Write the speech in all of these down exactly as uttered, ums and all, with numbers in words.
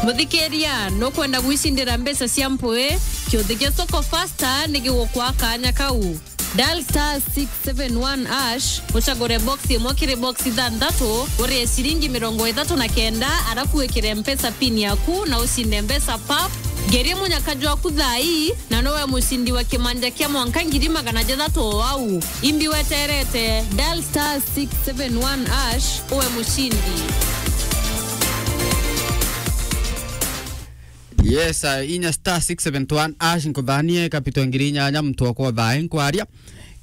Muthikiria, nukwenda gwicindira mbeca cia mpui? Kiuthi gia Soko Fasta ni gigukwa kanya kau. Dial star six seven one hash, ucagure box imwe kiri box ithanthatu, urie ciringi mirongo ithatu na kenda, arafu wikire Mpesa pin yaku na ucinde mbeca pap. Ngerie munyaka jwaku thaa ii, na nowe mucindi wa kimanja kia mwanka ngiri magana jathatu o au. Imbi weterete, dial star six seven one hash, uwe mucindi. Yes, uh, inya star six seven one hash nkuthanie kapito ngiri inyanya muntu okwa thaa nkwaria.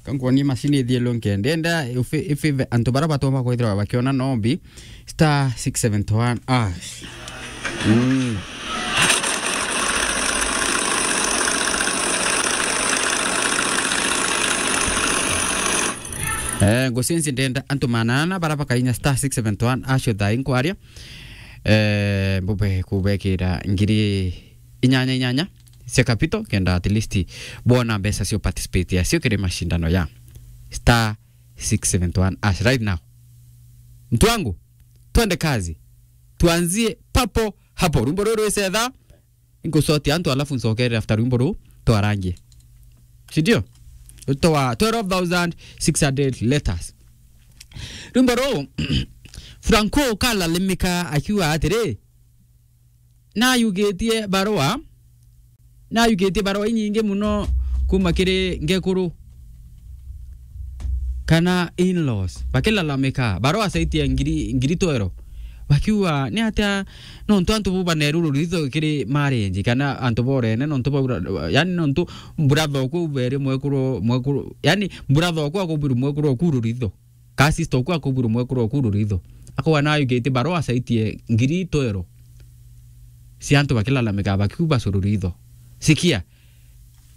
Kankuonie machine ithielo nkende. Enda ifi, ifi antu bara batoma kwithirwa bakiona nombi. Star six seven one hash. Mm. Eh, ngucinci ndenda antu manana bara bakainya star six seven one hash thaa nkwaria. Eh, mbube kubekira ngiri inyanya inyanya cia capital, kenda at least bona mbeca cio participate yacio kiri mashindano ya star six seven one hash right now. Mtu wangu, twende kazi. Tuanzie papo hapo. Rwimbo ruru rwisetha, nkucotia antu alafu ncokerere after rwimbo ruu twarangie. Si ndio? Twa twelve thousand six hundred letters. Rwimbo ruu, Franco kalalamika akiuga atiri, nayugitie barua, nayugitie barua inyingi muno kuma kiri ngekuru kana in-laws, bakilalamika, barua saitia ngiri, ngiri twero, bakiuga, "Ni atia nontu antu bu baneru ruritho kiri marriage, kana antu borene nontu baura, yani nontu brother oku uberi mwekuru, mwekuru, yani brother oku akubiri mwekuru oku ruritho." Ka sister oku akuburu mwekuru oku ruritho. Akauga nayugitie barua saitie ngiri twero cia antu bakilalamika bakiuga bacu ruritho. Sikia,